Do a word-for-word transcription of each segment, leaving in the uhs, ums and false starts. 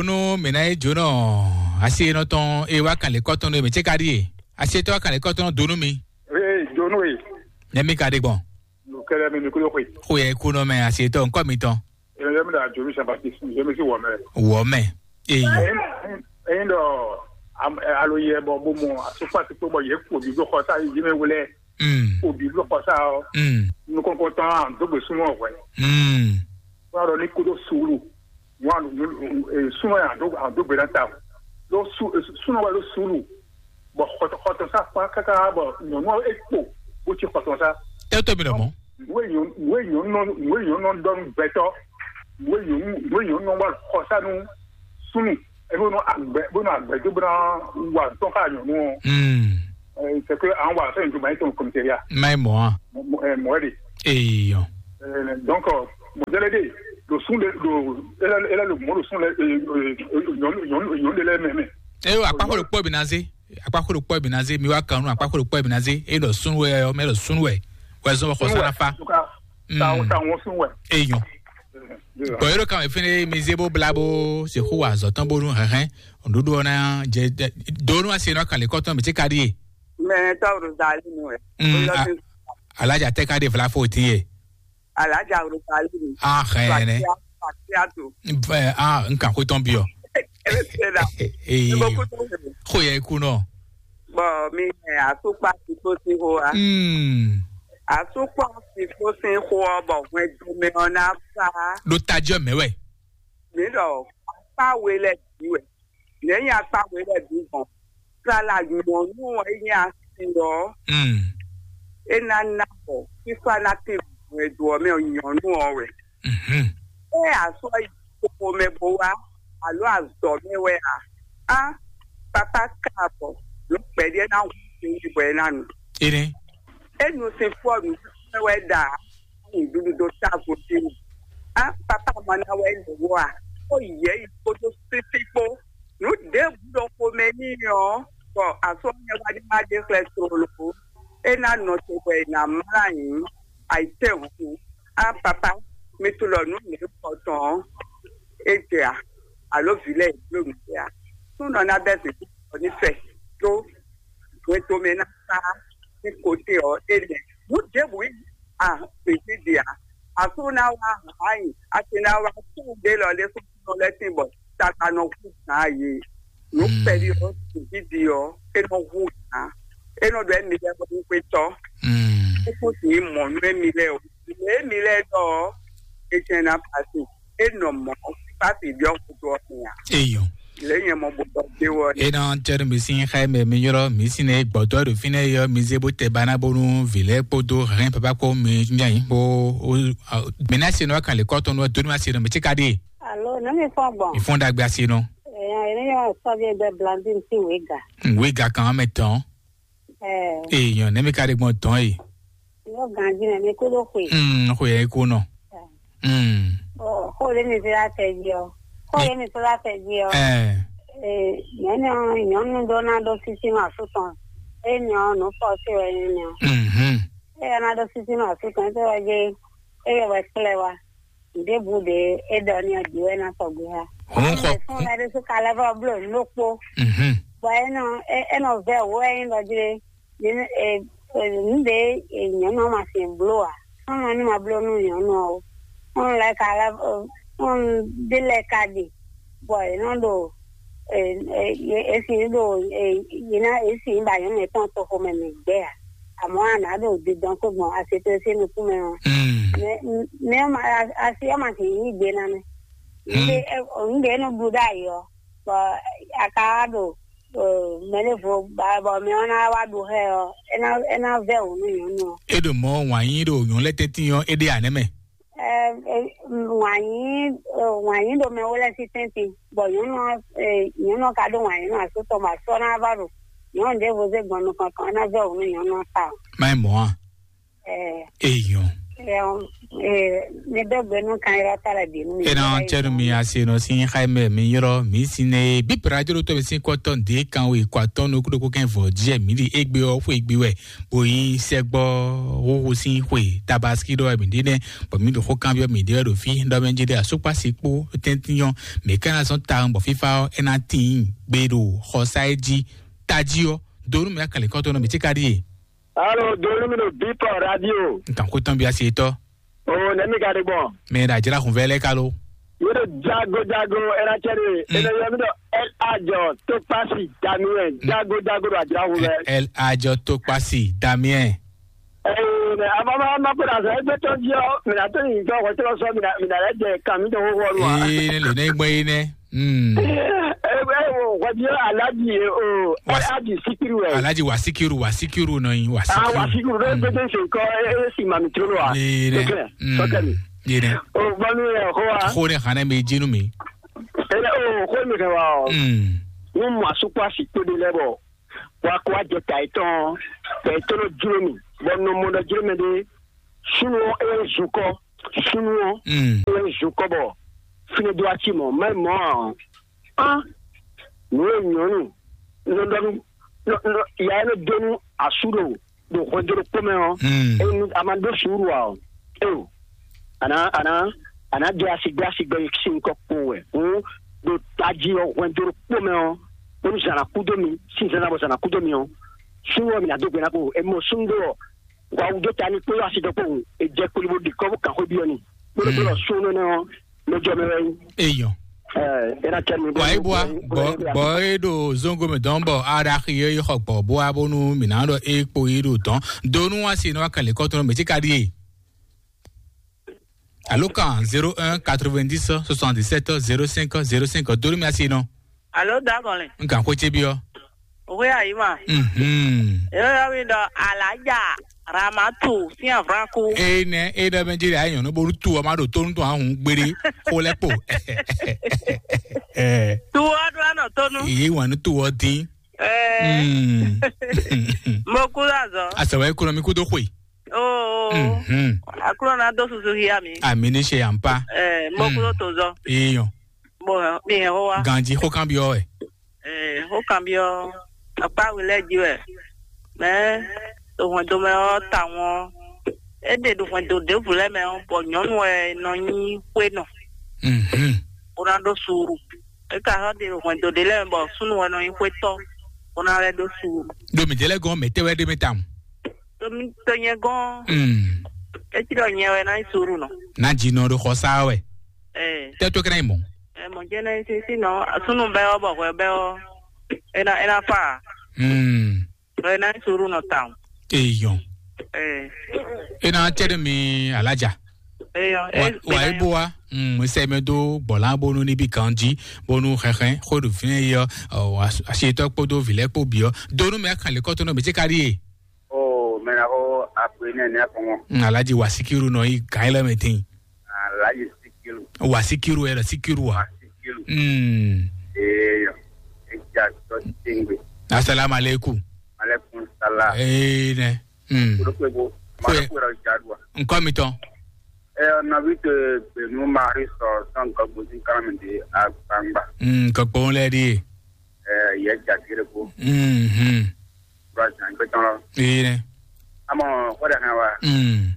Nú mǐ ná yi jǒnɔ asi e nɔ tɔn e wá kan lě kɔ́tɔn nú mǐ ce ka ɖíe. Asi e tɔ́ wá kan lě kɔ́tɔn dó nú mi. Ee, jǒnɔ e. Nɛ́ mi ka ɖe gbɔn? Nukɛlɛ mi mi kúló xwe. Xo yɛ kú nɔ mɛ asi e tɔ́ ŋkɔ mi tɔn. Ee, yɛ mi ɖa jǒnɔ Jean Baptiste, yɛ mi sí wɔ mɛ. Wɔ mɛ. Eyi. Ɛyin, ɛyin ɖɔ alo yɛ bɔ bó mɔ asopasi kpó bɔ yɛ kú òbí bló xɔ sá yɛ mi wlɛ. Mm. Òbí bló xɔ sá ɔ. Mm. Nukɔn kɔn tɔn an dó gbé súnmọ́ hwɛ. Mm. Wọ́n á lọ ní kódó sùúrù. Wọ́n á lọ ní súnmọ́ yẹn àdó gbé náà ta. Ló súnmọ́ wá ló sùúrù. Bọ̀ xɔtɔ̀xɔtọ̀ sá pa káká bọ̀ nyɔ̀nú ẹ̀ kpò bó ti xɔtọ̀ sá. Tẹ́tọ́ mi nà mọ́. Ìwé nyɔ̀nú ìwé nyɔ̀nú dɔnú gbẹtọ́. Ìwé nyɔ̀nú ìwé nyɔ̀nú wà xɔsánu súnmù. Ẹ bó nọ àgbẹ̀ bó nọ àgbẹ̀ tó bó náà wà tọ́ ká nyɔ̀nú ọ̀. Mm. C'est que an wà sẹ́yìn tó bá yín tó kọ̀mìtẹ́ríà. Má ì mọ̀ á. Mọ̀ ẹ́ de. Èèyàn. Donc, mɔdɛlɛ de, ɖo sun ɖe ɖo ele ele le mɔ ɖo sun lɛ nyɔnu nyɔnu nyɔnu ɖe lɛ mɛ mɛ. Eyo, akpaxo ɖokpɔ bi na ze. Akpaxo ɖokpɔ bi na ze. Mi wa kan nu akpaxo ɖokpɔ bi na ze. E ɖɔ sun wɛ ɔ mɛ ɖɔ sun wɛ. Wɛ zɔn xɔ sara fa. Ta ta wɔn sun wɛ. Eyɔn. Bɔn yɔrɔ kan fɛnɛ mi ze bó bla bó se xó wa azɔ tɔn bó nu hɛhɛ. Ɖoɖo ɔna jɛ donu ase nɔ kan le kɔtɔn mi ti ka di ye. Mɛ tɔw ɖo zali nu wɛ. Alaja tɛ ka de fla fo ti ye. Alaja Rosalie. Ah, xɛ nɛ. Patia to. Ah, n kan ko tɔn biɔ. Ebe se da. Ee. Ko yɛ ku nɔ. Bɔn mi ɛ asukpa ti ko si ho a. Hmm. Asukpa ti ko si ho ɔ bɔ hwɛn domɛ ɔ na fa. Ɖo tajɔ mɛ wɛ. Mi ɖɔ akpa we lɛ bi wɛ. Nɛ̌ nyi akpa we lɛ bǐ gbɔn? Tlala nyɔ̌nu ɔ́ é nyí asi ɔ́, é ná ná bɔ fífá ná tín nǔ e do ɔ́ mɛ ɔ́ nyɔ̌nu ɔ́ wɛ. Ée a sɔ́ yi xomɛ bó wá, alo azɔ̌ mɛ wɛ a? Á, papá ka bɔ nǔ kpɛɖé ná hu tɛnyi bɔ é ná nu. Ene. É nu sin fɔ nǔ wɛ ɖa nǔɖuɖu dó távo dó. Á, papá ma ná wɛ lě wɔ a? Ó yɛ yi kpódó sísí kpó. Nǔ ɖěbǔ ɖo xomɛ n'i ɔ́, bɔ azɔ̌ nyɛ wá ní má ɖe xlɛ́ tlóló. É ná nɔ te bɔ è nǎ mlá nyǐ ayǐtéhɔ̌nnu. Á, papá, mi tunwun ɖɔ nǔ nǐ kɔ tɔn ɔ́, é jɛ a? Alo vǐ lɛ́ɛ è bló nǔ ɖé a? Súnɔ ná bɛ́ zǐngídi ɔ́ ní fɛ dó hwetɔ́mɛ ná sá ní kote ɔ́ é nɛ́. Nǔ ɖěbǔ a zǐngídi a? Asú ná wá hǎn nyi, asi ná wá súnnu ɖé lɔ lé súnnu lɛ́ tín bɔ tata nɔ hú gǎn yě. Nǔ kpɛɖi ɔ́ zǐngídi ɔ́ é nɔ hú gǎn. É nɔ ɖɔ émi lɛ́ɛ bɔ ní xwetɔ́. É kún sì nyí mɔ̌ nú émi lɛ́ɛ o. Lě émi lɛ́ɛ ɖɔ ɔ́, é jɛ́n ná pasi. É nɔ mɔ̌ pasi ɖiɔ xutó ɔ́ mɛ ǎ. Eyɔn. Lě nyɛ mɔ bó tɔ dé wɔ. Ena tɛri mi sin xɛ mɛ mi yɔrɔ mi sin ne gbɔtɔ ɖo fi ne yɔ mi ze bó tɛ bana bonu vilɛ kpodo hɛn papa ko mi nyanyi bo o. Mina se nɔ kan le kɔtɔ nɔ doni ma se nɔ mi ti ka di. Alo, ne mi fɔ gbɔn. Ifɔn dagbe ase nɔ. Ɛɛ, ne yɔ sɔbi bɛ blandi si wega. Wega kan mɛ tɔn. Ɛɛ. Eyɔn, ne mi ka di gbɔn tɔn yi. Yɔ ganji ne mi ko do xwe. Mm, xwe yi ko nɔ. Mm. Ɔ, xó ɖé mi fi la tɛ jí ɔ. Xó ɖé mi fi la tɛ jí ɔ. Ɛɛ. Ee, nyɔnu nyɔnu ɖó ná ɖó sísí nɔ asú tɔn. Eye nyɔ nǔ fɔ sí wɛ nyɔ. Mhm. Eye ná ɖó sísí nɔ asú tɔn, eye wɛ dzi eye wɛ kplɛ wa. Ɖěbǔ ɖě é ɖɔ ní ɔ́ jí wɛ ná sɔgbe ha. Hun xɔ. Fún la ɖé sú kalɛ vɔ bló nú ɖokpó. Mhm. Bɔ é nɔ é é nɔ vɛ wǒ wɛ nyí ɖɔ jí. Nǔ ɖe nyɔ̌nu ɔ́ ma sin bló ǎ. Nú ma ní ma bló nú nyɔ̌nu ɔ́ ó, nú lɛ́ɛ ka lɛ́ nú ɖé lɛ́ɛ ka ɖe, bɔ è nɔ ɖo è sin ɖo è ná è sin ba nyɔ̌nu yětɔn toxo mɛ mɛ gbɛ́ ǎ. Amɔ̌ a nǎ ɖo dindɔn kpé gbɔn asetɔ́ sín nukún mɛ ɔ́. Mɛ mɛ ɔ́ ma asi ɔ́ ma sin yí gbe ná mɛ. Nǔɖé nǔɖé é nɔ blú ɖ'ayǐ ɔ́, bɔ a ka wá ɖo mɛ ɖěvo ba bɔ mɛ ɔ́ ná wá ɖu xá ɛ ɔ́, é ná é ná vɛ́ wǔ nú nyɔ̌nu ɔ́. É ɖo mɔ̌ wǎn yí ɖo nyɔ̌nu lɛ́ɛ tɛ́ntin ɔ́, é ɖe ǎ nɛ́ mɛ. Wǎn yí wǎn yí ɖo mɛ wó lɛ́ɛ sín tɛ́ntin, bɔ nyɔ̌nu ɔ́ nyɔ̌nu ɔ́ ka ɖó wǎn yí nú asú tɔn bɔ asú ɔ́ ná wá ɖu nyɔ̌nu ɖěvo zé gbɔn nukɔn tɔn, é ná vɛ́ wǔ nú nyɔ̌nu ɔ́ tawun. Má nyí mɔ̌ a? Ɛ. Eyɔn. Ɛ, ɔ, ɛ, mi dɔ gbɛ nú kan yɔrɔ ta la di nú mi. Ena cɛnu mi ase nɔ sin xaimɛ mi yɔrɔ mi sin ne bi radio to mi sin kɔtɔn de kan we kɔtɔn no kudo ko kɛn vɔ diɛ mi di egbe ɔ xwe egbe wɛ bo yi sɛgbɔ wowo sin xwe tabaski dɔ mi di nɛ bɔ mi do xo kan bi mi de wɛ do fi dɔ mɛ ji de asukpa si kpo tɛntin yɔ mi kana zɔn ta bɔ fifa ɔ ena tin gbe do xɔsa e ji taji ɔ donu mi akali kɔtɔn nɔ mi ti ka di ye. Alo, donu mi do bipɔ radio. Nkan ko tɔn bi ase tɔ. O, ne mi ka de gbɔn. Mɛ da jira kun vɛ lɛ kalo. Yɛrɛ jago jago ɛna cɛ de. Mm. Ɛna yɔ mi dɔ ɛl ajɔ to pasi damiyɛ jago jago do ajira kun vɛ. Ɛl ajɔ to pasi damiyɛ. Ɛɛ, ne ama ma ma ko da sɛ ɛgbɛ tɔn ji ɔ, mi na to yin jɔ wɛ tɔn sɔ mi na mi na lɛ jɛ kan mi tɔn ko wɔ nu a. Ee, ne le ne gbɔ yi nɛ. Mm. Ɛ ɛ wo wadi alaji o Wa- alaji sikiru ɛ. Alaji wasikiru wasikiru nɔ yin Ah, wasikiru. Wasikiru ɖe gbede se kɔ e si ma mi tro lo a. Ee, ne. Sɔkɛ mi. Ee, ne. O banu yɛ ko wa. Ko ne xana mi jinu mi. Ele o ko mi kɛ wa o. Mm. Mo mo asukwa si to de lɛ bɔ. Wa ko wa jɛ ta etɔn. Ta etɔn no jlo mi. Bɔ no mo dɔ jlo mi de. Sunu e zukɔ. Sunu Mm. E zukɔ bɔ. Fine do ati mɔ. Mɛ mɔ. Á, nǔ e nyɔ̌nu nɔ ɖɔ nú nɔ- nɔ- ya e nɔ dó nú asú ɖo ɖo hwɛndo ɖokpó mɛ ɔ́, Mm. enu a ma ɖó suúru ǎ ɔ́, eo, a nǎ a nǎ a nǎ ɖe asi gbé asi gbé sín nukɔn kpowun wɛ. Hǔn ɖo tají ɔ́ hwɛndo ɖokpó mɛ ɔ́, bónú zǎn ná kú dó mi, sín zǎn ná bɔ zǎn ná kú dó mi ɔ́, súnnu ɔ́ mi ná dó gbe ná kpo. E mɔ súnnu ɖó ɔ́, wǎ wú dó ta ní kpódó asi dɔkpɔ́hun, è jɛ kpoli bó ɖi kɔ́ bó kan xwé byɔ́ nì. Kpódó kpódó ɔ́, súnnu énɛ́ ɔ́, mɛ jɔ mɛ wɛ nyí. Eyɔn. Ɛ, é ná cɛ mi bó Wa yi bua bɔ bɔ e ɖo zongo mɛ dɔn bɔ aɖaxi e xɔ gbɔ bua bónú mi ná ɖɔ e kpo yi ɖo dɔn donu wa si nɔ wa kɛlɛ kɔtɔn mɛ ti ka ɖi e. Alo kan zéro un quatre-vingt-dix soixante-dix-sept zéro cinq zéro cinq donu mi asi nɔ. Alo dagɔnle. N kan ko ce bi ɔ. Owe ayi ma. Mhm. Yɔyɔ mi dɔ alaja ramatu fian franku. Ee nɛ e ɖɔ mɛ jeli ayi nyɔnu bolu tu ɔ ma ɖo tonu tɔn ahun gbede ko lɛ kpo. Ɛ. Tu ɔ ɖo anɔ tonu. Iye wan nu tu ɔ din. Ɛɛ. Mm. Mo ku la zɔ. Asɛ wɛ kuro mi ku do xwe. Oo. Mhm. Akuro na do susu hia mi. Ami ni se yan pa. Ɛɛ, mo ku do to zɔ. Iyan. Bon, mi hɛn ho wa. Ganji xó kan byɔ́ wɛ. Ɛɛ, xó kan byɔ́ akpá wi lɛ́ɛ jí wɛ. Mɛ ɖo hwɛndo mɛ ɔ́ tawɔn ɔ́, é ɖe ɖo hwɛndo ɖěbǔ lɛ́ɛ mɛ ɔ́, bɔ nyɔ̌nu wɛ nɔ nyí xwénɔ. Mhm. Bó ná ɖó suuru. É ka xɔ ɖe ɖo hwɛndo ɖě lɛ́ɛ mɛ, bɔ súnnu wɛ nɔ nyí xwétɔ́, bó ná lɛ́ ɖó suuru. Ɖo mǐ jɛ lɛ́ gɔ́n mɛ tɛ́ wɛ ɖé mɛ tawun. Ɖo mí to nyɛ gɔ́n, Mm. É cí ɖɔ nyɛ wɛ ná nyí suuru nɔ. Ná dzi nɔ ɖo xɔ sá wɛ. Ɛɛ. Tɛ to kɛnɛ mɔ. Ɛ mɔ jɛ nɛ si si nɔ sunu bɛ ɔ bɔ hwɛ bɛ ɔ ena ena fa. Hmm. Bɛ ena suru nɔ tan. Eyɔn. Ɛ. Ena tɛ de mi alaja. Eyɔn. Wa wa ebo wa. Hmm. Sɛ mi do gbɔlan bonu ni bi kan ji bonu xɛxɛ xo do fi yɔ asi tɔ kpo do vilɛ kpo biɔ donu mi akan le kɔtɔnɔ mi ti ka di ye. Oh, mena ko akpe ne ne akɔngɔ. Alaji wasikiru nɔ yi gan ilẹ mi tin. Alaji sikiru. Wasikiru ɛ sikiru wa. Wasikiru. Mm. Eyo. Eja to tingwe. Assalamu alaikum. Alaikum salam. Eh ne. Mm. Kudo kwe bo. Kwe. Mara kwe ra jadwa. Nko mi ton. Eh, na vite benu mari so san ko bo sin kala mi de agbangba. Mm, ko bon le di. Ɛɛ, yɛ jagere ko. Mhm. Kura jan gbɛtɔn lɔ. Ee nɛ. Amɔ, o de hɛn wa. Mm.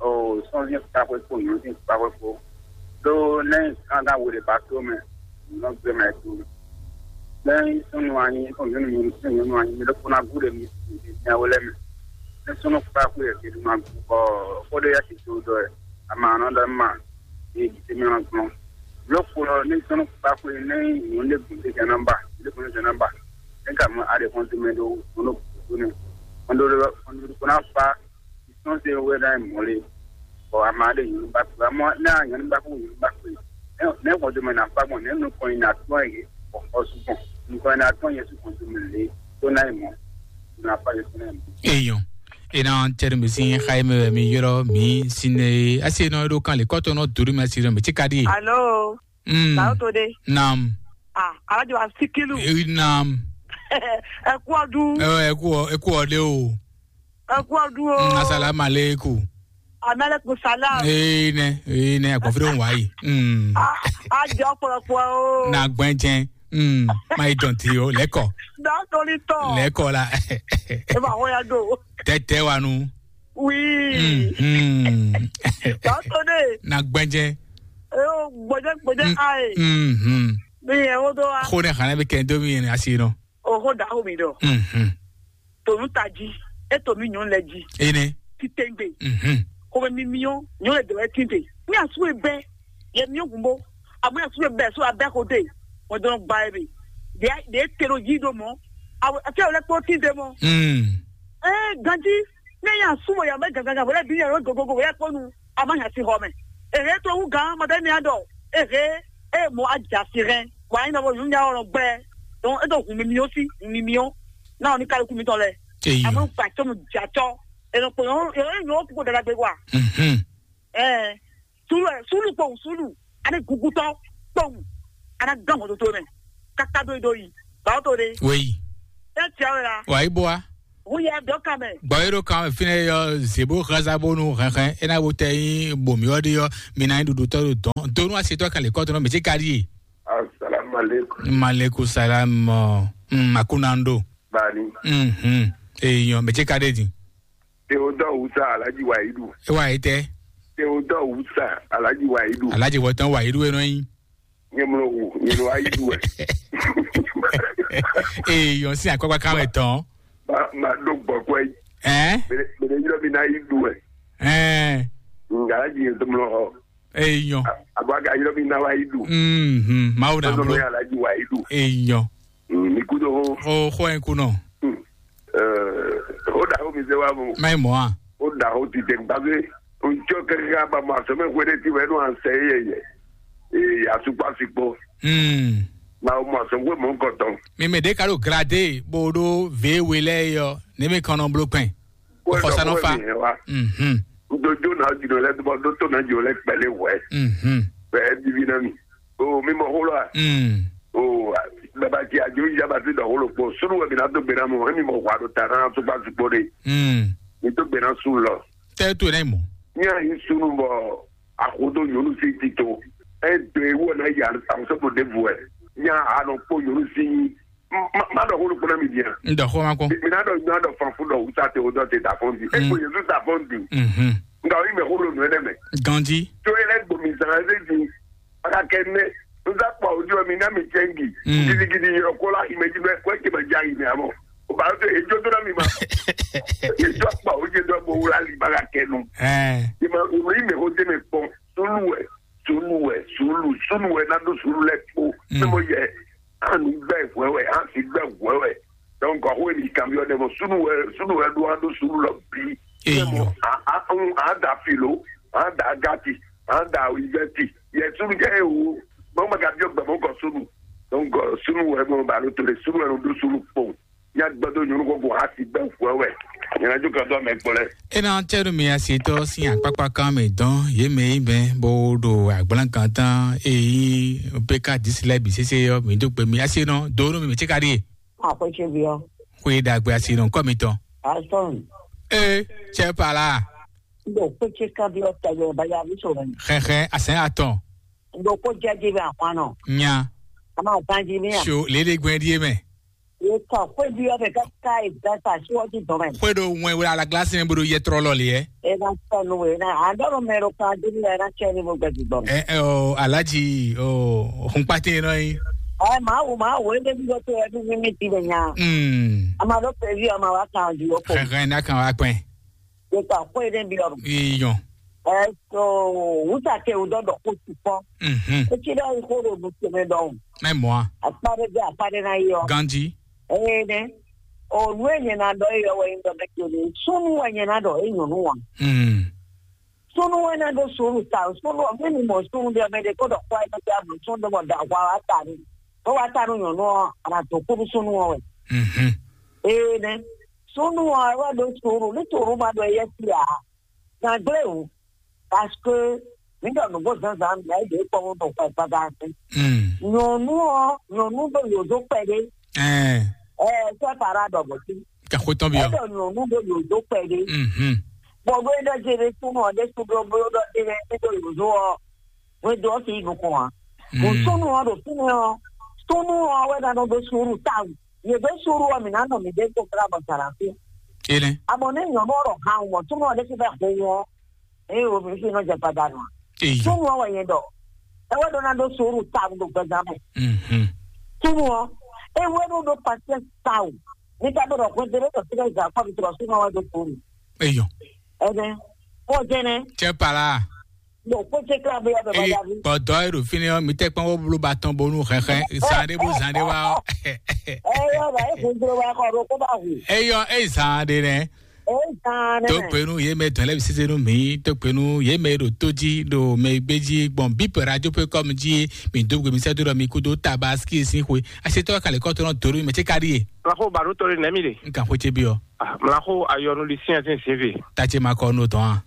O sɔnzi kpakpɛ ko, nyɔnzi kpakpɛ ko. Do ne kankan wele ba to mɛ, nɔ gbɛ mɛ to. Ne sunu anyi, ko nyɔnu nyɔnu sunu nyɔnu anyi, mi do kuna gu de mi mi nya wele mɛ. Ne sunu kpakpɛ yɛ ti ma gu bɔ ko de ya ti to dɔ yɛ. Ama nɔ dɔ ma. Ee, jitemi ɔ́ gblɔ́n. Lɔ̌kplɔ́ ní sɔ́n kpákpé ní nyɔ̌nu ɖé gǔn ɖé jɛ nɔ́ ba, ɖé gǔn ɖé jɛ nɔ́ ba. Ní ka mɔ aɖe xɔn tɛnmɛ ɖó xɔn ɖó kúkú ní. Xɔn ɖó xɔn ɖó kó ná fa sɔ́n se wɛ ná mɔ lé. Bɔ ama ɖé nyɔ̌nu ba kú, amɔ ní a nyɔ̌nu ba kú nyɔ̌nu ba kú. Ní xɔn tɛnmɛ ná fa gbɔn, ní nukɔn yi ná tɔ́n yi, bɔ xɔ su gbɔn. Nukɔn yi ná tɔ́n yɛ su xɔn tɛnmɛ lé, tó ná yi mɔ. Ná fa yɛ tó ná yi mɔ. Eyɔn. Ena tɛri mi sin xayi mɛ mi yɔrɔ mi sin ne asi nɔ ɖo kan le kɔtɔ nɔ dori mi asi nɔ mi ti ka di. Alo. Mm. Sao to de. Nam. Ah, alaji wa sikilu. Eh, nam. Ẹ kú ọdún. Eh, ẹ kú ọ- ẹ kú ọdẹ o. Ẹ kú ọdún o. Mm, asalamu aleykum. Amaleku salam. Ee nɛ, ee nɛ, agbɔnfin ɖo wá yi. Mm. A jọ kpɔlɔkpɔ o. Na gbɛn jɛn. Mm. Ma yi dɔn ti o, lɛkɔ. Dɔn tori tɔ. Lɛkɔ la. E ma hɔ ya do. Tɛtɛ wa nu. Oui. Mm. Mm. Dɔn to de. Na gbɛn jɛn. E o gbɔdɛ gbɔdɛ Mm. ayi. Mm. Mm. Mi yɛ o do wa. Xo ne xana bi kɛ do mi yɛ ne asi nɔ. Oxó ɖaxó mi ɖɔ. Mhm. Tònú tají, é tònú nyɔ̌nu lɛ jí. Ene. Títɛngbé. Mhm. Xɔmɛ mi miɔ, nyɔ̌nu lɛ dɛwɛ tínte. Mi asú e bɛ, yɛ miɔ gumbo. Amɔ asú e bɛ so abɛ xo de. Mo dɔn gba e be. De de te ɖo yí ɖo mɔ. Awo afia wòle kpó tínte mɔ. Mm. Ee, ganjí, ne nya asú mo ya mɛ gangan wòle bi nya lɔ gogogo wòle kpó nu. A má nya sí xɔ mɛ. Ehe to wú gán, mɔ ɖe ní adɔ. Ehe, e mo adza si hɛn. Wa yin nɔ bo nyɔ̌nu nya ɔlɔ gbɛ. Donc e ɖo hun mimi ɔ́ sí, hun mimi ɔ́ ná ɔ ní kálukú mitɔn lɛ. Eyɔ. Amú gbàtɔ mu dzatɔ. Ènɔ kpɔnyɔ yɔ yɔ kúkú dada gbé wa. Mhm. Ɛɛ, sulu ɛ sulu kpɔn sulu, ani gugutɔ kpɔn, ana gán mɔtoto mɛ, kaka do do yi, bawo to de. Weyi. Ɛ tia wɛ la. Wa yi bɔ wa. Hu yɛ dɔ kan mɛ. Gbɔ yi ɖo kan fínɛ yɔ zebo xaza bonu hɛnhɛn ena wo tɛ yi bomi ɔ ɖi yɔ mina yi ɖuɖu tɔ ɖo dɔn donu asi tɔ kan le kɔtɔ nɔ mɛ tsi ka ɖi ye. Assalamu alaikum. Maleku salam. Mm, makunando. Bani. Mhm. Eyɔn mɛ tsi ka ɖe di. Theodore Wusa Alhaji Wahidu. E wa yi tɛ. Theodore Wusa Alhaji Wahidu. Alhaji wɔtɔn Wahidu enɔ yi. Nyemlo wu, nyemlo Wahidu ɛ. Eyɔn si akpakpa kan wɛ tɔn. Ma ma do gbɔkɔ yi. Ɛ? Bele bele yɔrɔ mi na yi du ɛ. Ɛ. Nga Alhaji yɛ tɔmlɔ hɔ. Eyɔn. Abo aga yɔrɔ mi na wa yi du. Mhm. Mawu na Tɔmlɔ bro. Ya Alhaji Wahidu. Eyɔn. Mm, mi kudo ho. O xɔ en kunɔ. Mm. Eh, o da ho mi se wa mo. Mai mɔ a. O da ho ti te gbagbe. O jɔ kɛkɛ ka ba ma sɔmɛ hwe de ti wɛ no an sɛ ye ye. Eh, ya su pa si kpo. Mm. Ma o ma sɔ hwe mo ko tɔn. Mi me de ka ɖo grade bo ɖo ve we lɛ yɔ ne mi kɔnɔ blo kpɛn. Xɔ sa nɔ fa. Mhm. N do jo na jino lɛ dubɔ do to na jo lɛ kpɛlɛ wɛ. Mhm. Bɛ divi na mi. O mi mɔ xolo a. Mm. O baba ti ajo yi jaba ti dɔ xolo kpo sunu wɛ mi na do gbe na mɔ emi mɔ xɔ ado ta na so gba sukpo de. Mm. Mi do gbe na su lɔ. Tɛ to ne mo. Nya yi sunu bɔ axodo nyɔnu si ti to. E do ewu na ya amuso to de vu ɛ. Nya anɔ kpo nyɔnu si má ɖɔ xó ɖokpó ná mi bia. N ɖɔ xó ma kpɔn. Mi ná ɖɔ nyɔnu aɖɔ fanfú ɖɔ wusa te wodɔ te da fɔn di. Eko yezu da fɔn di. Mhm. Nga oyi mɛ xó ɖo nù ɛnɛ mɛ. Ganji. Tso yɛ lɛ gbomi zan ɛsɛ di. Aka kɛ nɛ. N za kpa ojú mi ná mi cɛngi. Mm. Gidigidi yɔrɔ kó la yi mɛ jí bɛ kó eke mɛ já yi mɛ amɔ. O ba to ejo do na mi ma. Ejo kpa ojú do bo wula li ba ka kɛ nu. Ɛ. Ima oyi mɛ xó te mɛ kpɔn. Sulu wɛ. Sulu wɛ. Sulu. Sulu wɛ na do sulu lɛ kpo. Mm. Sɛ mo yɛ. An gbɛ hwɛwɛ, an si gbɛ hwɛwɛ. Donc ɔhɔn ni kamiɔ ɖe mɔ sunu wɛ sunu wɛ ɖo an ɖo sunu lɔ bi. Eyo. A a un an da filo, an da gati, an da wizɛti. Yɛ sunu jɛ ewu. Mɔ ma ka biɔ gbɛ mɔ kɔ sunu. Donc sunu wɛ mɔ ba lo to le sunu wɛ lo ɖo sunu kpɔn. Ya gbɛdo nyɔnu kɔkɔ a si gbɛ hwɛwɛ. Nyɛnɛ jo ka do amɛ kpɔ lɛ. Ena tɛnu mi asitɔ sin akpakpa kan mi dɔn ye mɛ yi mɛ bo ɖo agblán kan tán eyi peka disi lɛ bi sese yɔ mi do gbe mi asi nɔ do no mi mi tsi ka ɖi. Àpèjẹ bí ọ. Xwe ɖagbe asi nɔ kɔ mi tɔn. Asɔn. Ee, tsɛ pala. Ndo kpetse kan bí ọ tẹgbẹ baya bí sọ mẹ. Xɛxɛ asɛn atɔn. Ndo kó jẹjẹ bí akwan nɔ. Nya. A máa tán jí mí à. So lele gbɛn die mɛ. Ye kɔ xwe bí ọ bẹ ká ká ìgbà ta sí ọjí dùn mẹ. Xwe ɖo wɛn wla la glasi mɛ bo ɖo yɛ trɔ lɔ le yɛ. E na tɔ nu e na a dɔ mɛ ɖo kan dzi ni e na tsɛ ni mo gbɛ dzi gbɔ. Ɛ ɛ o alaji o hunkpate nɔ yi. Ɛ maa wo maa wo ebe bi bɔ to ɛbi mi mi ti bɛ nya. Mm. A ma ɖo pɛvi a ma wa kan ju o ko. Xɛxɛ na kan wa kpɛn. Ye kɔ xwe ɖe bi ɔ. Iyɔn. Ɛ so wusa ke o dɔ dɔ ko ti kɔ. Mhm. E ti dɔ yi ko ɖo nu tɛmɛ dɔ. Mɛ mɔ a. Akpa ɖe bɛ akpa ɖe na yi ɔ. Ganji. Ee nɛ. O nu e nyɛ na dɔ yi ɔ wɛ yi dɔ bɛ ke ni. Sunu wɛ nyɛ na dɔ e nyɔnu wa. Mm. Sunu wɛ na do sunu ta sunu ɔ mi ni mɔ sunu de ɔ mɛ de ko dɔ kɔ ɛ mɛ de a mɔ sunu de mɔ da wa wa ta ni. Ko wa ta nu nyɔnu ɔ a na to kuru sunu ɔ wɛ. Mhm. Ee nɛ. Sunu ɔ wɛ do sunu ni sunu ma dɔ yɛ si a. Gangble o. Parce que mi dɔ nugbo zanzan mi ayi de kpɔ wo dɔ kɔ ɛ gbaga se. Mm. Nyɔnu ɔ nyɔnu do yozo kpɛ de. Ɛɛ. Ɛɛ sɛ para dɔ bɔ si. Ka xo tɔn bi ɔ. Ɛdɔ nyɔnu do yozo kpɛ de. Mhm. Bɔ ɖó é ɖɔ jɛ ɖé súnnu ɔ́ ɖésú ɖó bló ɖɔ jɛ ɖé ní ɖo yǒzo ɔ́, hwedó ɔ́ fi yi nukɔn ǎ. Bɔ súnnu ɔ́ ɖo fínɛ́ ɔ́, súnnu ɔ́ wɛ ná nɔ ɖó suúlu tawun. Yě ɖó suúlu ɔ́, mǐ ná nɔ mǐ ɖésú kplá bɔ zǎn ná fí. Énɛ́. Abɔ ní nyɔ̌nu ɔ́ ɖɔ han mɔ súnnu ɔ́ ɖésú bɛ́ ho wɔn, eye wo mǐ fi nɔ jɛ gbadanu ǎ. Eyo. Súnnu ɔ́ wɛ nyɛ ɖɔ. É wɛ ɖó ná ɖó suúlu tawun ɖo gbɛzán mɛ. Mhm. Súnnu ɔ́, é wɛ ɖó ɖó pasiɛ́nsi tawun. Ní ká ɖó ɖɔ hwedó ɖé tɔ fínɛ́ zǎn kpɔ́ mi tlɔ súnnu ɔ́ wɛ ɖó suúlu. Eyo. Ɛnɛ. Kó jɛnɛ. Cɛ pala. Bon, kó jɛ kla bɛ yɔ bɛ ba Eye ya vi. Bɔdɔ e ɖo fínɛ́ ɔ́, mi tɛ kpɔn wó bló ba tɔn bónú hɛnhɛn zan ɖé bó zan ɖé wá ɔ́. Ɛyɔ ba e kun blo wa kɔ ɖo kó ba hu. Eyɔ eyi zan ɖé nɛ. Eyi zan ɖé. Tó penu yé mɛ dɔn lɛ bi sise nú mi, tó penu yé mɛ ɖo tó jí ɖo mɛ gbé jí gbɔn bip radio pe kɔm jí mi dó gbe mi sɛ dó ɖɔ mi kú dó tabaski sín xwe. Asetɔ kalẹ kɔtɔ nɔ doro mi mɛ tse ka ɖi ye. Mlaxo baɖo tɔ ɖe nɛmi ɖe. N kan xwe tse bi ɔ. Ah, mlaxo ayɔnu li siɛn sin sin vi. Tatse ma kɔ nú tɔn a.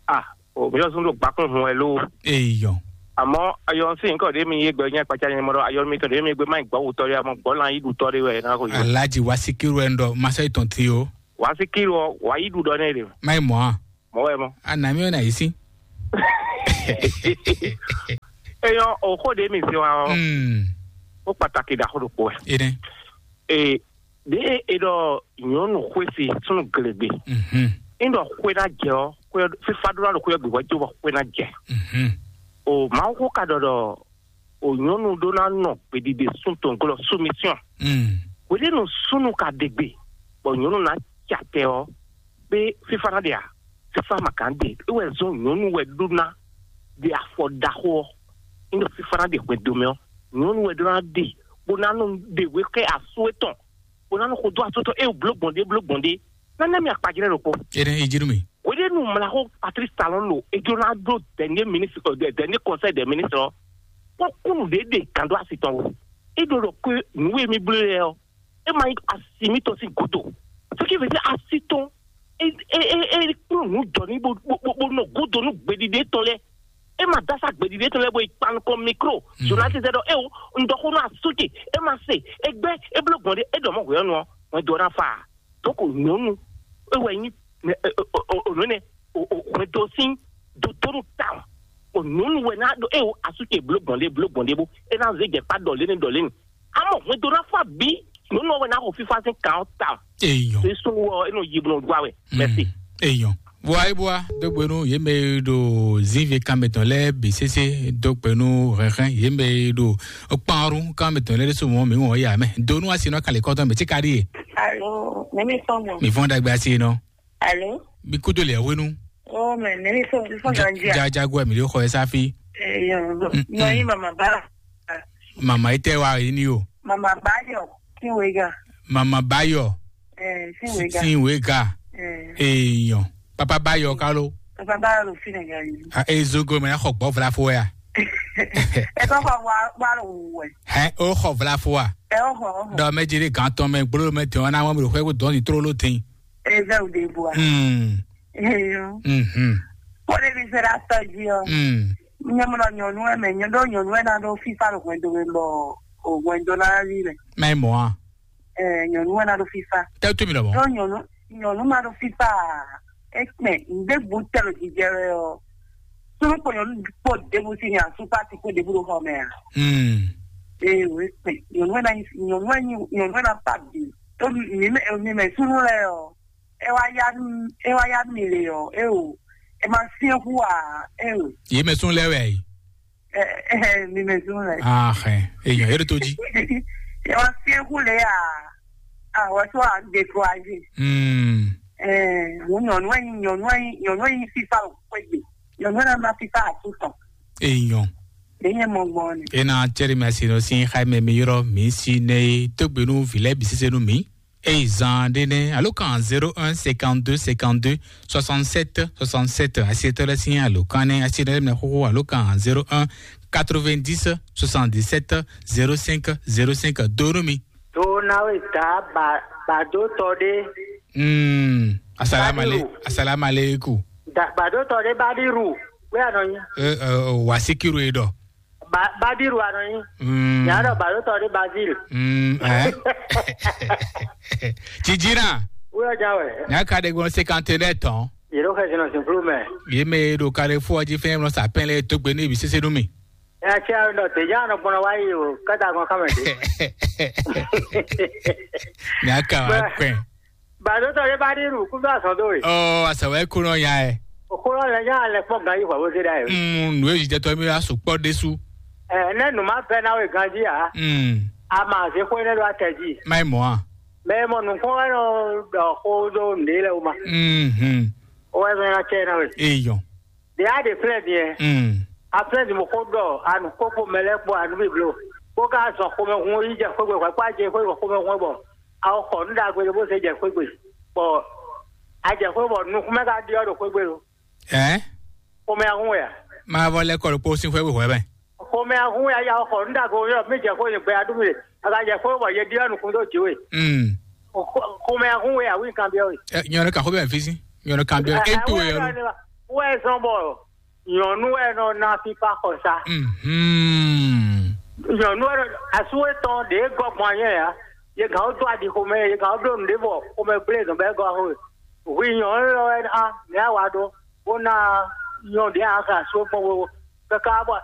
Ah, o mi yɔ sun ɖo gbakun hun wɛ lo. Eyɔ. Àmọ́ ayɔ sí nǹkan ɖé mi yé gbɛ nyɛ kpatsa nyɛ mɔ ɖɔ ayɔ mi tɔ ɖé mi gbé má gbɔ wutɔ ɖé àmọ́ gbɔ lan yí ɖutɔ ɖé wɛ na ko yɔ. Alaji wa sikiru ɛ ŋdɔ masa etɔn ti o. Wa sikiru ɔ wa yí ɖu ɖɔ nɛ ɖe. Má yi mɔ a. Mɔ wɛ mɔ. Ana mi ɔ na yi sí. Eyɔ o xó ɖé mi se wa ɔ. Hmm. Ó pàtàkì ɖaxó ɖokpó wɛ. Ene. Ee, ɖě e ɖɔ nyɔ̌nu xwé se súnnu glegbe, Mhm. é ɖɔ xwé ná jɛ ɔ́, xwé ɔ́, fífá ɖó ná ɖo xwé ɔ́ gbe hwɛ̌ cóbɔ xwé ná jɛ. Mhm. O Mawu xó ka ɖɔ ɖɔ o nyɔ̌nu ɖó ná nɔ gbeɖiɖe sún tɔn glɔ́ soumission. Mm. Hweɖénu súnnu ka ɖe gbe, bɔ nyɔ̌nu ná ca tɛ ɔ́, pé fífá ná ɖe a? Fífá ma ka ɖe, é wɛ zɔ́n nyɔ̌nu wɛ ɖó ná ɖe afɔ ɖaxó ɔ́. É ɖɔ fífá ná ɖe hwɛndo mɛ ɔ́, nyɔ̌nu wɛ ɖó ná ɖe, bó ná nɔ ɖe wě xɛ asú étɔn, bó ná nɔ xo dó asú étɔn, é wò bló gbɔn ɖé, bló gbɔn ɖé. Nánɛ́ mi akpajlɛ́ ɖokpó. Ene ejirumi. Hweɖénu mlaxó Patrice Talon ɖo é jló ná ɖó dernier ministre, euh, de- dernier conseil des ministres ɔ́, kpɔ́ kúnnu ɖě ɖe gǎn dó asi tɔn wú. É ɖo ɖɔ kú nǔ e mì bló lɛ́ɛ ɔ́, é ma nyí asi mítɔn sín gǔdo. Ce qui veut dire asi tɔn é é é é kplɔ́n nǔ jɔ ní bó bó bó bó nɔ gúdo nú gbeɖiɖe tɔn lɛ́ɛ. É ma dó asá gbeɖiɖe tɔn lɛ́ɛ bó yi kpan nukɔn mikro. Journaliste ɖɔ é o un ɖɔ xó nú asúke, é ma se, é gbɛ́, é bló gbɔn ɖé, é ɖɔ mɔ hwɛ̌nu ɔ́, wɛn dó ná fa. Donc nyɔ̌nu é wɛ nyí nǔ énɛ́ hwɛndo sín dodónu tawun. O nyɔ̌nu wɛ ná ɖo é o asúce bló gbɔn ɖé bló gbɔn ɖé bó é ná zé jɛ kpá ɖɔ lé ní ɖɔ lé ní. Amɔ hwɛndo ná fá bí nyɔ̌nu ɔ́ wɛ ná xo fífá sín kan ɔ́ tawun. Eyɔn. Sísun wɔ é nɔ yi blɔ gbá wɛ. Merci. Eyɔn. Bua é bua dógbenu yě mɛ e ɖo zínve kanmɛ tɔn lɛ́ɛ bǐ sésé dógbenu hɛnhɛn yě mɛ e ɖo kpanru kanmɛ tɔn lɛ́ɛ ɖésú mɔ mǐ wɔn yà mɛ donu asi nɔ kalẹ̀ kɔtɔn mɛ tí ka ɖi ye. Alo, nɛmi tɔn mɔ. Mi fɔn dagbe asi nɔ. Alo. Mi kudo le hwenu. Oh, mɛ nɛmi tɔn mi fɔn ganji a. Jajago mi le xɔ esa fi. Eyo. Mm, Nɔ mm. Yi mama ba. Mama ite wa yi ni o. Mama ba yo. Sin wega. Mama ba yo. Eh, sin wega. Sin wega. Eh. Eyan. Papa ba yo kalo. Papa ba yo lo sin wega yi. A e zogo me na xɔ gbɔ vla fo ya. E ko xɔ wa wa lo wɛ. Hɛ o xɔ vla fo wa. E o xɔ o xɔ. Dɔ mɛ jiri gan tɔn mɛ gbolo mɛ tɔn na wɔn mi xwe ko dɔn ni trolo tin. Ezau de bua. Hmm. Eyo. Mhm. Kó lè fi sera tɔjú ọ. Hmm. Nyɔmlɔ nyɔnu ɛ mɛ nyɔdɔ nyɔnu ɛ na ɖo fifa ɖo hwɛndo mɛ bɔ o hwɛndo na rí mɛ. Mɛ mɔ a. Ɛ nyɔnu ɛ na ɖo fifa. Tɛ tu mi lɔ mɔ. Ɖo nyɔnu nyɔnu ma ɖo fifa. Ekpɛ ŋdé bu tɛ lo jijɛ wɛ ɔ. Sunu kpɔ nyɔnu kpɔ debu si nya supa ti kpɔ debu ɖo xɔ mɛ a. Hmm. Ee o ekpɛ nyɔnu ɛ na nyɔnu ɛ nyɔnu ɛ na pa bi. To mi mɛ mi mɛ sunu lɛ ɔ. E wá yá mi e wá yá mi le ɔ e o e ma fiɛ hu a e o. Yé mɛ sún lɛ wɛ yi. Ɛ ɛ mi mɛ sún lɛ. Ah ɛ èèyàn yẹrẹ tó jí. E wá fiɛ hu le a a wá sọ a découragé. Hmm. Ɛ mo nyɔnu ɛ nyɔnu ɛ nyɔnu ɛ fifa o pé de nyɔnu ɛ ma fifa a tún tɔn. Èèyàn. Èyí ẹ mọ gbọn ni. E na cɛri mi asi nɔ si xa mɛ mi yɔrɔ mi si ne tógbenu vilɛ bisise nu mi. Eyi zan ɖé nɛ́ alo kan zéro un cinquante-deux cinquante-deux soixante-sept soixante-sept asietɔ lɛ sín alo kan nɛ́ asietɔ lɛ mɛ xóxó alo kan zéro un quatre-vingt-dix soixante-dix-sept zéro cinq zéro cinq donu mi. Tó náwó ìta bàdótɔ ɖé. Mm. Asalaamu ale- Badiru. Asalaamu aleykum. Da- bàdótɔ ɖé bá dírù. Wé àná yín. Ɛ ɛ wàsíkìrù yìí dɔ. Ba- Badiru anɔ nyi. Mm. Nya ɖɔ balotɔ ɖe Bazil. Mm, eh. Jijina. Wúyɔ jà wɛ. Nya ka ɖe gbɔn cinquante-neuf tɔn. Yě ɖo xɛsi nɔ zǐnflú mɛ. Yě mɛ e ɖo Carrefour ɔ́ jí fɛ́n nɔ sa pɛn lɛ́ɛ dó gbe n'i bǐ sésé nú mì. Ɛ cɛ nɔ dě nya nɔ gbɔn wá yi o, kɛta gbɔn kámɛ dě. Nya ka wá kpɛn. Bàdó tɔ ɖé bá ɖi nù kú bá sɔn dó we. Ɔ, asɛ wɛ kó nɔ nya ɛ. Òkú lɔ lɛ nya lɛ kpɔ́n gan yi hwɛ bó zé ɖa yìí. Mm, nǔ e jijɛtɔ mi wá sukpɔ ɖésú. Ɛ, nɛ nù má bɛ ná we ganjí ǎ. Mm. A ma zé xó énɛ́ ɖó atɛ jí. Má yi mɔ̌ a? Mɛ e mɔ nǔkpɔ́n wɛ nɔ ɖɔ xó ɖó nǔɖé lɛ́ɛ wú ma. Mhm. Ó wɛ zɔn ná cɛ ná we. Eyɔn. Ɖě a ɖe flɛ́ din ɛ. Mm. A flɛ́ din mo xó ɖɔ a nǔ kókó mɛ lɛ́ɛ kpó a nǔ bǐ blo. Kó ka zɔn xomɛhun yi jɛ xwé gbe hwɛ kpó a jɛ xwé gbe xomɛhun bɔ a xɔ nǔ ɖagbe ɖé bó zé jɛ xwé gbe. Bɔ a jɛ xwé bɔ nukúnmɛ ka ɖyɔ́ ɖo xwé gbe lo. Ɛ? Xomɛ ahun wɛ a? Má vɔ lɛ́ kɔ ɖokpó sín xwé hwɛ̌ mɛ. Xomɛ ahun wɛ a ya xɔ nǔ ɖagbe yɔ mí jɛ xwé yě gbɛ a ɖú mi le. A ka jɛ xwé bɔ yě ɖyɔ́ nukún dó jǐ we. Mm. Xomɛ ahun wɛ a wí kan byɔ́ we. Ɛ, nyɔnu kan xwé bɛ fí sí. Nyɔnu kan byɔ́. É to yɔ. Wɛ zɔn bɔ nyɔ̌nu wɛ nɔ ná fífá xɔsa. Mhm. Nyɔ̌nu wɛ nɔ asú etɔn ɖě gɔ́ gbɔn anyɛ ya. Yě gǎn ó dó aɖi xomɛ, yě gǎn ó bló nǔɖé bɔ xomɛ gblé zɔn bɔ é gɔ́ xo. Hwi nyɔ̌nu lɔ wɛ ná mɛ á wa ɖó, bó ná nyɔ̌nu ɖě a xlɛ asú gbɔn wo. Kɛkɛ bɔ